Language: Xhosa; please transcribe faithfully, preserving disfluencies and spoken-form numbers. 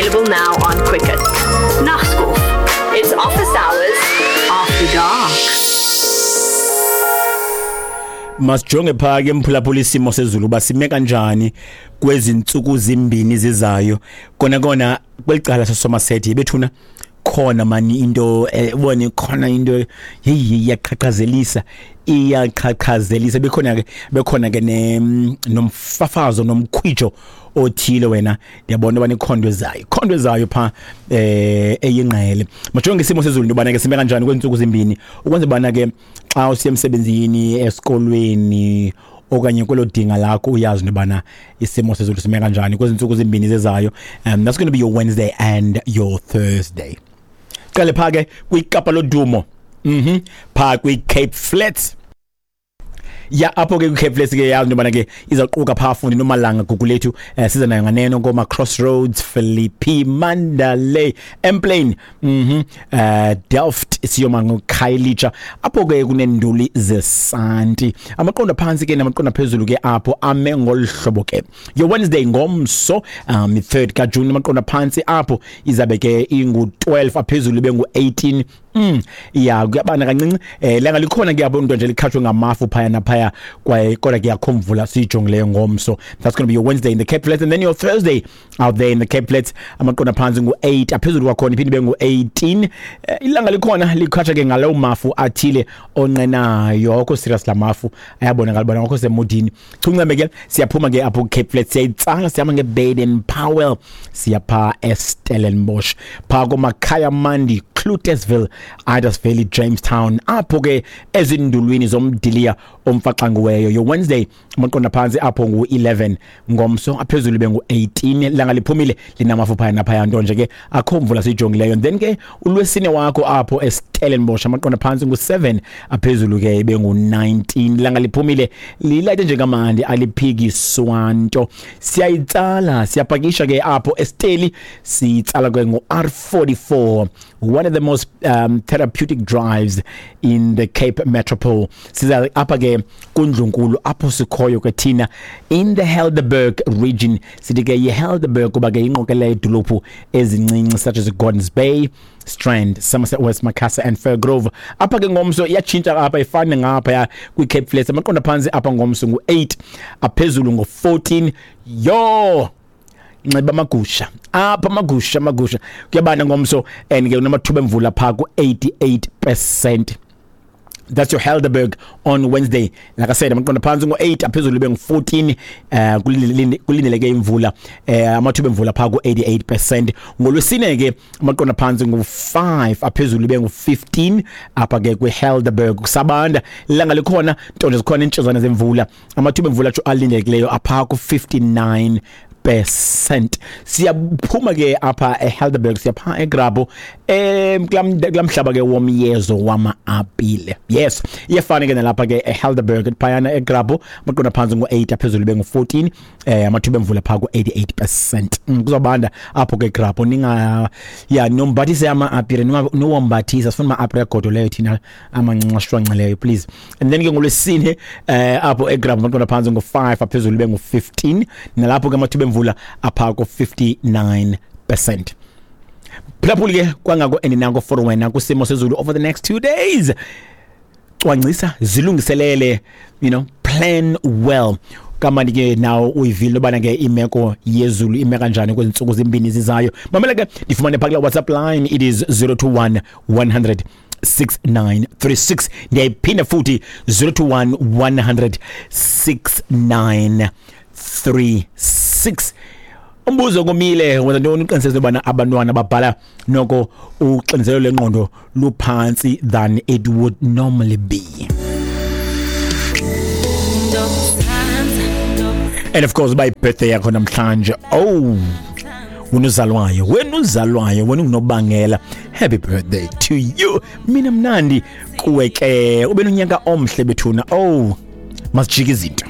Available now on Quicket. Nagskof. It's office hours after dark. Masijonge phaa ke, mphulaphula, isimo sezulu uba sime kanjani kwezi ntsuku zimbini zizayo. Kona kona kweli cala saSomerset bethuna, khona mani into, eh, ubone khona into, heyi, iyaqhaqhazelisa, iyaqhaqhazelisa. Bekhona ke, bekhona ke ne nomfafazo nomkhwijo othile. Wena, ndiyabona uba nikhondo ezayo, khondo ezayo pha eh eyingqele. Majonge isimo sezulu into yobana ke sime kanjani kwezi ntsuku zimbini, ukwenza ubana ke xa usiya emsebenzini, esikolweni okanye kwelo dinga lakho, uyazi into yobana isimo sezulu sime kanjani kwezi ntsuku zimbini zezayo. um that's going to be your Wednesday and your Thursday. Qale phaa ke kwiKapa lodumo, mhm phaa kwi-Cape Flats ya. Apho ke kwi-Cape Flats ke, yazi into yobana ke izawuquka phaa fundi nomalanga Gugulethu, eh, siza nayo nganeno koma Crossroads, Philippi, Mandalay, Emplane, mhm eh Delft, siyoma ngoKhayelitsha. Apho ke kunenduli zesanti, amaqondo phantsi ke namaqondo phezulu ke apho ame ngolu hlobo ke. Your Wednesday, ngomso, um third kaJune, amaqondo phantsi apho izabe ke ingu twelve, aphezulu bengu eighteen. Mm ya kuyabana kancinci, eh langa likhona ke apho, into nje likhatshwe ngamafu phaya naphaya, kwaye kodwa ke akho mvula siyijongileyo ngomso. That's going to be your Wednesday in the Cape Flats. And then your Thursday out there in the Cape Flats, amaqondo phantsi ngu eight, aphezulu kwakhona iphinde ibe ngu eighteen. Eh, ilanga likhona, likhatshwa ke ngalowo mafu athile onqenayo. Akho serious la mafu, ayabonakala bona akho semudini chunceme ke. Siyaphuma ke apho Cape Flats, siyayitsala, sihamba ngeBaden Powell, siyapha eStellenbosch, phaa komakhaya mandi, Cloetesville, Idas Valley, Jamestown, apho ke ezindulwini zomdiliya omfaxangiweyo. Your Wednesday, amaqondo phantsi apho ngu eleven ngomso, aphezulu bengu eighteen. Langa liphumile, linamafu phaya naphaya, nto nje ke akho mvula siyijongileyo. And then ke ulwesine wakho apho eStellenbosch, amaqondo phantsi ngu seven, aphezulu ke bengu nineteen. Langa liphumile, lilayite nje kamandi, aliphikiswa nto. Siyayitsala, siyapakisha ke apho eSteli, siyitsala ke ngo R forty-four, one of the most um, therapeutic drives in the Cape Metropole. Siza apha ke kundlunkulu apho sikhoyo ke thina in the Helderberg region. Sithi ke yiHelderberg kuba ke ingqokelela idolophu ezincinci such as Gordons Bay, Strand, Somerset West, Macassar and Firgrove. Apha ke ngomso iyatshintsha apha, ifane ngapha kwi-Cape Flats. Amaqondo phantsi apha ngomso ngu eight, aphezulu ngo fourteen. Yo, nxiba amagusha apha, amagusha, amagusha. Kuyabanda ngomso and ke unamathuba emvula phaa ku eighty-eight percent. That's your Helderberg on Wednesday. Like I said, amaqondo phantsi ngo eight, aphezulu bengu fourteen. eh kulindeleke imvula, eh amathuba emvula phaa ku eighty-eight percent. Ngolwesine ke amaqondo phantsi ngu five, aphezulu bengu fifteen apha ke kwiHelderberg. Kusabanda, ilanga likhona, nto nje zikhona iintshizwana zemvula. Amathuba emvula alindelekileyo apha ku fifty-nine percent. Siyaphuma ke apha eHelderberg, siyapha eGrabho, em kula mhlaba ke womyezo wama-apile. Yes, iyafana ke nalapha ke eHelderberg. Phayana eGrabho amaqondo phantsi ngu eight, aphezulu bengu fourteen, eh amathuba emvula phaa ku eighty-eight percent. mm, kuzobanda apho ke Grabho. Ninga ya nombathise ama-apile, niwombathisa. Sifuna ama-apile agodoleyo thina, amancinci ashwanxileyo, please. And then ke ngolwesine eh apho eGrabho amaqondo phantsi ngu five, aphezulu bengu fifteen. Nalapho ke amathuba emvula apha ku fifty-nine percent. Phulaphuli ke, kwangako endinako for wena kwisimo sezulu over the next two days. Cwangcisa, zilungiselele, you know plan well. Kamandi ke nawo uyivile ubana ke imeko yezulu ime kanjani kwezi ntsuku zimbini zizayo. Mamela ke, ndifumane phaa kula WhatsApp line. It is zero two one one hundred six nine three six. Ndiyayiphinda futhi, zero two one one hundred six nine three six. Umbuzo komile: wenza ntoni uqiniseke ubana abantwana babhala noko uxinzelelo lengqondo luphantsi than it would normally be? And of course, by birthday yakho namhlanje, oh, wena uzalwayo, wena uzalwayo, wena ungunobangela, happy birthday to you. Mina mnandi kuwe ke, ube nonyaka omhle bethuna. Oh, masijike izinto.